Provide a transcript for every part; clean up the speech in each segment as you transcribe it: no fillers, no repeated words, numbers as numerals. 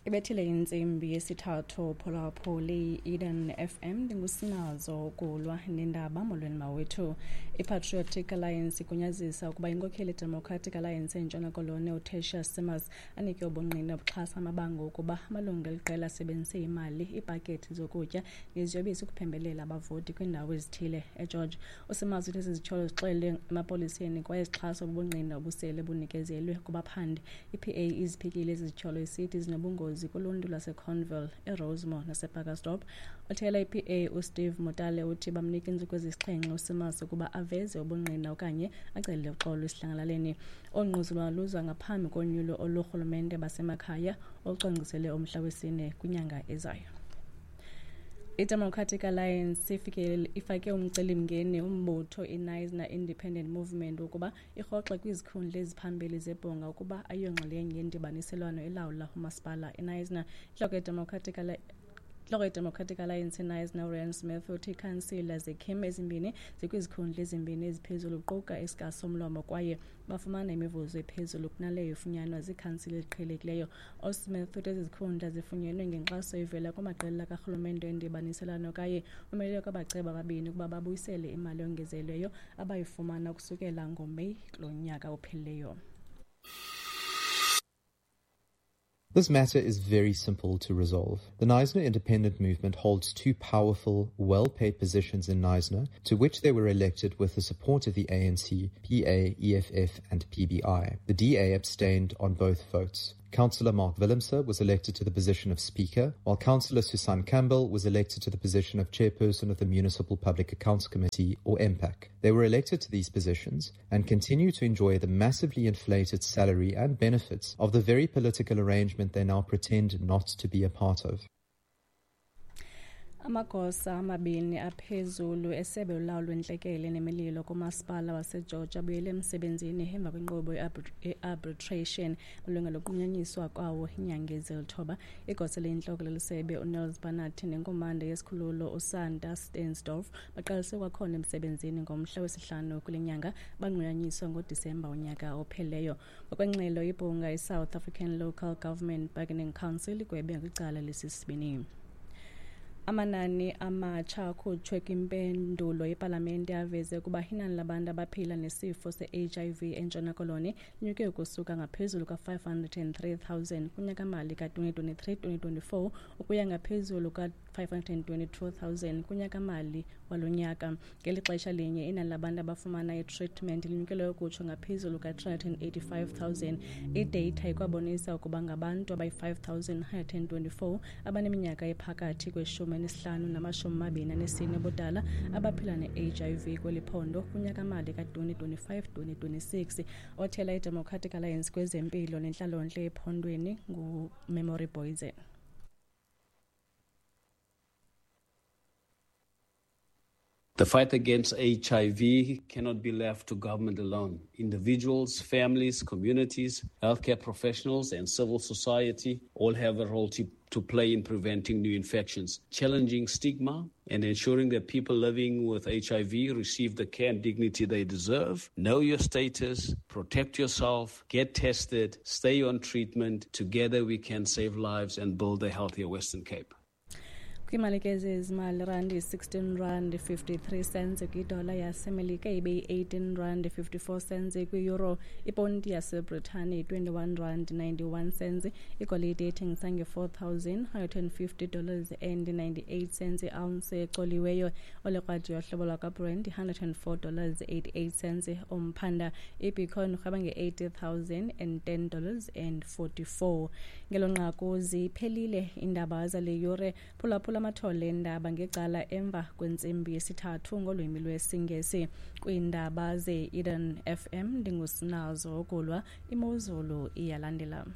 Ibethile intsimbi yesithathu phulaphuli Eden FM, ndingusinazo ukulwa nendaba. Molweni mawethu. I-Patriotic Alliance igunyazisa ukuba inkokheli Democratic Alliance eNtshona Koloni uTertuis Simmers anike ubungqina obuxhasa amabango ukuba amalungu eliqela asebenzise imali, iipakethi zokutya neziyobisi ukuphembelela abavoti kwiindawo ezithile eGeorge. USimmers uthi ezi zityholo zixelwe emapoliseni kwaye zixhaswa bubungqina obusele bunikezelwe kubaphandi. I-PA iziphikile ezi zityholo isithi zinobungozi kuluntu lwaseConville, eRosemore naseBurgersdorp. Othela i-PA uSteve Motale uthi bamnika iintsuku ezisixhenxe uSimmers ukuba aveze ubungqina okanye acele uxolo esidlangalaleni. Olu luza ngaphambi konyulo olurhulumente basemakhaya olucwangciselwe umhla wesine kwinyanga ezayo. I-Democratic Alliance ifake umcelimngeni umbutho iKnysna Independent Movement ukuba irhoxe kwizikhundla eziphambili zebhunga ukuba ayiyonxalenye yendibaniselwano elawula umasipala iKnysna. Intloko yeDemocratic Alliance iKnysna uRyan Smith uthi iikhansila zeKHIM ezimbini zikwizikhundla ezimbini eziphezulu kuquka esikasomlomo kwaye bafumana imivuzo ephezulu kunaleyo ifunyanwa ziikhansila eziqhelekileyo. USmith uthi ezi zikhundla zifunyenwe ngenkxaso evela kumaqela karhulumente endibaniselwano kwaye umele kwabaceba ababini ukuba babuyisele imali eyongezelelweyo abayifumana ukusukela ngoMeyi kulo nyaka uphelileyo. This matter is very simple to resolve. The Knysna Independent Movement holds two powerful, well-paid positions in Knysna, to which they were elected with the support of the ANC, PA, EFF and PBI. The DA abstained on both votes. Councillor Mark Willemse was elected to the position of Speaker, while Councillor Susan Campbell was elected to the position of Chairperson of the Municipal Public Accounts Committee, or MPAC. They were elected to these positions and continue to enjoy the massively inflated salary and benefits of the very political arrangement they now pretend not to be a part of. Amagosa amabini aphezulu esebe ulawulo lwentlekele nemililo kumasipala waseGeorge abuyele emsebenzini emva kwenkqubo ye-arbitration malunga nokunqunyanyiswa kwawo iinyanga ezilithoba. Igosa eliyintloko leli sebe uNels Barnard nenkomanda yesikhululo uSanta Stensdorf baqalise kwakhona emsebenzini ngomhla wesihlanu kule nyanga, banqunyanyiswa ngoDisemba unyaka ophelileyo. Ngokwengxelo ibhunga iSouth African Local Government Bargaining Council igwebe kwicala lesisibini. Amanani amatsha akhutshwe kwimpendulo yepalamente aveze ukuba inani labantu abaphila nesifo se-HIV eNtshona Koloni linyuke ukusuka ngaphezulu ka-503,000 kunyaka-mali ka-2023-2024 ukuya ngaphezulu ka-522,000 kunyaka-mali walo nyaka. Ngeli xesha linye inani labantu abafumana itreatment linyukele ukutsho ngaphezulu ka-385,000. Idata ikwabonisa ukuba ngabantu abayi-5,124 abaneminyaka ephakathi kweshumi elineshlanu namashumi amabini anesine ubudala abaphila ne-HIV kweli phondo kunyaka-mali ka-2025-2026. Othela iDemocratic Alliance kwezempilo nentlalontle ephondweni nguMemory Boysen. The fight against HIV cannot be left to government alone. Individuals, families, communities, healthcare professionals, and civil society all have a role to play in preventing new infections, challenging stigma, and ensuring that people living with HIV receive the care and dignity they deserve. Know your status, protect yourself, get tested, stay on treatment. Together we can save lives and build a healthier Western Cape. Kwiimali ke zezimali, randi 16 rand 53 cents kwidola yaseMelika, ibe yi-18 rand 54 cents kwi-euro, iponti yaseBritane 21 rand 91 cents, igolide ethengisa nge-$4,150 and 98 cents i-ounce ecoliweyo, olekrwada yohlobo lwakwaBrent $104 88 cents umphanda, ibitcoin urhweba nge-$80,010 and 44. Ngelo nqaku ziphelile iindaba zale yure. Phulaphula amathole endaba ngecala emva kwentsimbi yesithathu ngolwimi lwesiNgesi. Kwiindaba ze-Eden FM ndingusinazo Okulwa. Imozulu iyalandela.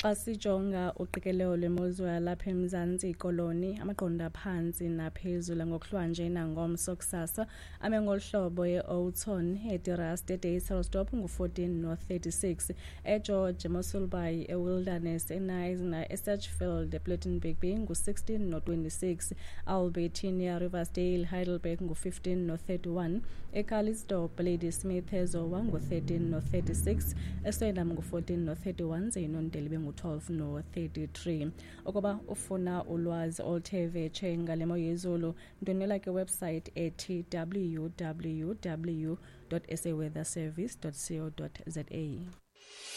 Xa sijonga uqikelelo lwemozulu yalapha eMzantsi Koloni, amaqondo aphantsi naphezulu ngokuhlwanje nangomso kusasa ame ngolu hlobo: e-Oudtshoorn, eDeRust, eDeysselsdorp ngu-14 no-36, eGeorge, eMossel Bay, eWilderness, eKnysna, eSedgefield, ePlettenberg Bay ngu-16 no-26, Albertinia, Riversdale, Heidelberg ngu-15 no-31, eCalitzdorp, Ladysmith, eZowa ngu-13 no-36, eSwellendam ngu-14 no-31, ze iNondeli bengu-12 no-33. Ukuba ufuna ulwazi oluthe vetshe ngale mo yezulu, ndwendwela ke website ethi www saweatherservice co za.